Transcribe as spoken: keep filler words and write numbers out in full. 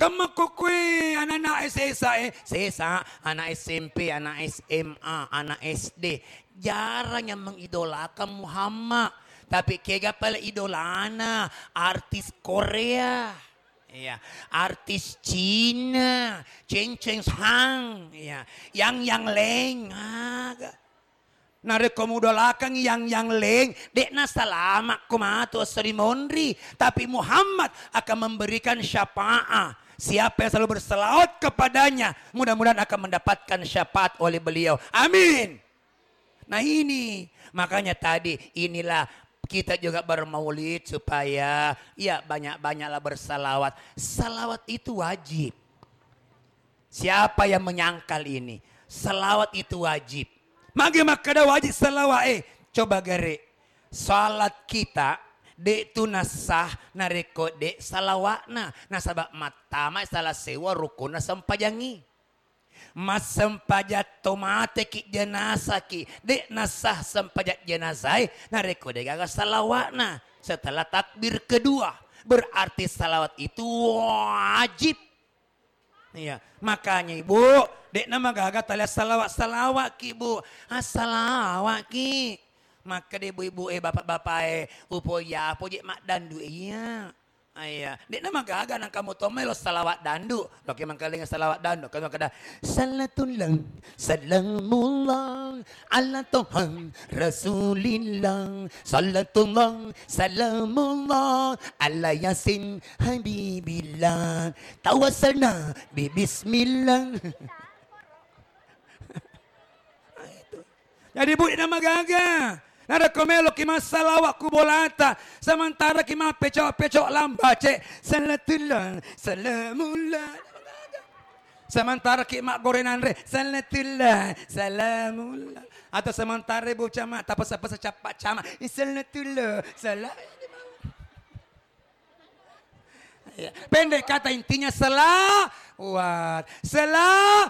Temmakko kue anak-anak S S A, eh, S S A, anak S M P, anak S M A, anak S D. Jarang yang mengidolakan Muhammad. Tapi kega pale idolana artis Korea. Iya, artis Cina, Cheng Cheng Hang, iya, Yang Yang Leng, aga. Narekko mudolakang Yang Yang Leng, de'na salama ko matu esso ri monri, tapi Muhammad akan memberikan syafaat. Siapa yang selalu berselawat kepadanya, mudah-mudahan akan mendapatkan syafaat oleh beliau. Amin. Nah ini, makanya tadi inilah kita juga bermaulid supaya ya banyak-banyaklah bersalawat. Salawat itu wajib. Siapa yang menyangkal ini? Salawat itu wajib. Magi makkeda wajib salawat, eh? Coba gere. Salat kita de' tu nasah narekko de' salawatna. Nasaba mattama salah sewa rukunna sempajangi. Massempajang to mateki jenazaki, de' nasah sempajang jenazae narekko de' gaga salawatna setelah takbir kedua. Berarti salawat itu wajib. Iya, makanya Ibu, de' namagaga tali salawat-salawatki, Bu. Assalawatki. Makkeda ibu-ibu e, bapak-bapak e, upo iya, upo je maddandu iya. Iya, de'na magaga nang kamu to melo salawat dandu. Loki mangkalinga salawat dandu, kamu kada sallatullah, salamullah, ala toha, rasulillah, sallatullah, salamullah, ala yasin, habibillah, tawassalna, bi bismillah. Nah, itu. Jadi, Bu, de'na magaga. Narekko meloki massalawa ku bolata, sementara ki mappecok-pecok lambace, salatullah, salamullah. Sementara ki maggore nanre, salatullah, salamullah. Atau sementara bocah ma, tapesa-pesa cappa cama, salatullah, salam. Ya. Pendek kata, intinya selawat, selawat.